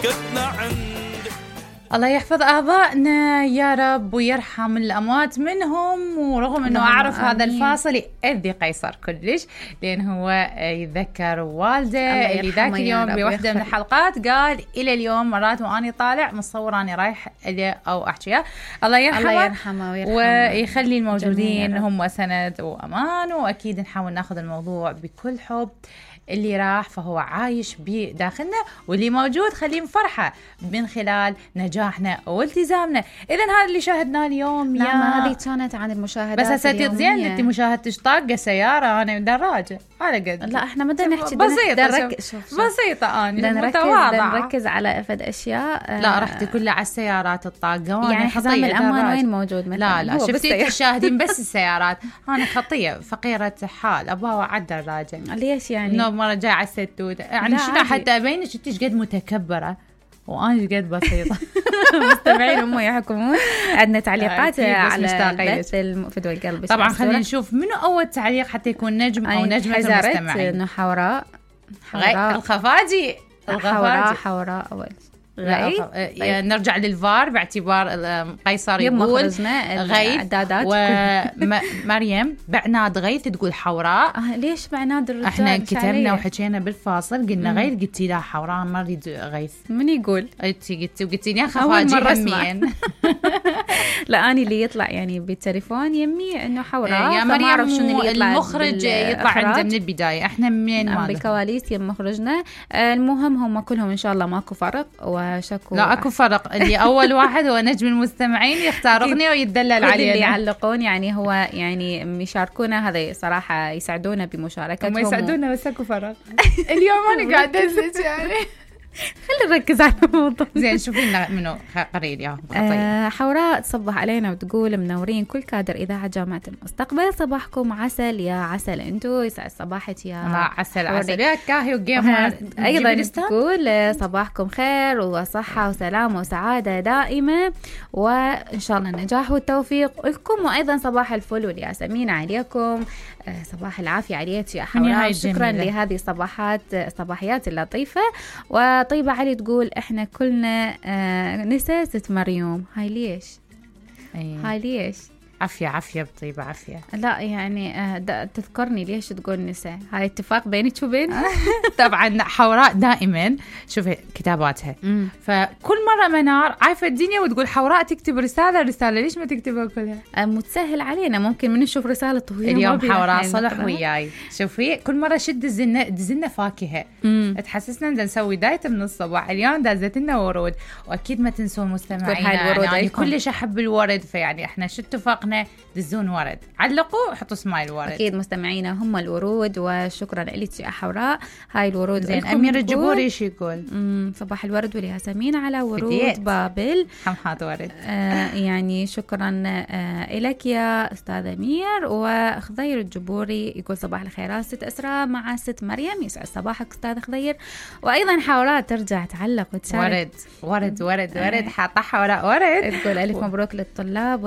وجدنا عند. الله يحفظ آبائنا يا رب ويرحم الأموات منهم. ورغم أنه أعرف هذا الفاصل يأذي قيصر كلش، لأن هو يتذكر والده اللي ذاك اليوم بوحدة من الحلقات قال إلى اليوم مرات وأني طالع مصور أني رايح إليه أو أحكيه. الله يرحمه ويخلي الموجودين هم سند وأمان. وأكيد نحاول ناخذ الموضوع بكل حب. اللي راح فهو عايش بداخلنا، واللي موجود خليه فرحة من خلال نجاحنا والتزامنا. إذن هذا اللي شاهدناه اليوم. نعم هذه كانت عن المشاهدات بس هسه زين انت مشاهدتش طاقة سيارة أنا دراجة على قد. لا احنا بدنا نحكي بسيطة أنا نركز على أفد أشياء. لا رحتي كلها على السيارات الطاقة يعني حزام الأمان وين موجود مثلا؟ لا شفتي تشاهدين بس السيارات. أنا خطية فقيرة حال أبغى على الدراجة. ليش يعني؟ مرة جاي على الستوت يعني شنو حتى أبينك أنت قد متكبرة وأنا قد بسيطة. مستمعين هم يحكمون. عندنا تعليقات على بث فدوى القلب. طبعا خلينا نشوف منو أول تعليق حتى يكون نجم أو نجمة المستمعين. إنه حوراء الخفاجي حوراء أول. نرجع للفار باعتبار قيصر يقول غيث ومريم بعناد غيث تقول حوراء. ليش بعناد الرجال؟ احنا كتبنا وحكينا بالفاصل قلنا غيث قلتي لا حوراء ما اريد غيث. من يقول؟ انتي قلتي لي خفاجي همين. لا اني اللي يطلع يعني بالتليفون يمي انه حوراء. يا مريم اعرف شنو اللي يطلع. المخرج يطلع عنده من البدايه. احنا منين ما بالكواليس يم مخرجنا. المهم هم كلهم ان شاء الله ماكو فرق وشكو. لا اكو فرق. اللي اول واحد هو نجم المستمعين يختار اغنيه ويتدلل علينا. اللي يعلقون يعني هو يعني يشاركونا هذا صراحه يساعدونا بمشاركتهم. هم يساعدونا بس اكو فرق. اليوم انا قاعده ازج يعني. خلينا نركز على الموضوع. زين شوفي لنا منو قرير يا حوراء تصبح علينا وتقول منورين كل كادر إذاعة جامعة المستقبل. صباحكم عسل يا عسل انتو. يسعد صباحك يا عسل يا كاهي وجيمر. ايضا تقول صباحكم خير وصحة وسلامة وسعادة دائمة وان شاء الله النجاح والتوفيق لكم. وايضا صباح الفل والياسمين عليكم. صباح العافية عليك يا حوراء. شكرا لهذه الصباحيات اللطيفة. وطيبة علي تقول احنا كلنا نساء ست مريم. هاي ليش؟ هاي ليش؟ عافية بطيبة عافية. لا يعني تذكرني ليش تقول نساء. هاي اتفاق بينك وبين. طبعا حوراء دائما شوفي كتاباتها. فكل مرة منار عارفة الدنيا وتقول حوراء تكتب رسالة ليش ما تكتبها كلها؟ متسهل علينا ممكن من نشوف رسالة طويلة. اليوم حوراء صلح وياي. شوفي كل مرة شد دزلنا فاكهة تحسسنا ان نسوي دايت من الصباح. اليوم دازت لنا ورود. واكيد ما تنسون مستمعينا يعني كلش احب الورد. فيعني احنا شو اتفقنا دزون ورد. علقوا حطوا سمايل ورد. اكيد مستمعينا هم الورود. وشكرا لك يا حوراء. هاي الورود زين. امير الجبوري ايش يقول؟ صباح الورد والياسمين على ورود بابل. حمحات ورد. يعني شكرا لك يا استاذ امير. وخضير الجبوري يقول صباح الخيرات ست اسراء مع ست مريم. يسعد صباحك استاذ خضير. وايضا حوراء ترجع تعلق وتشارك. ورد حاطه حوراء ورد. تقول الف مبروك للطلاب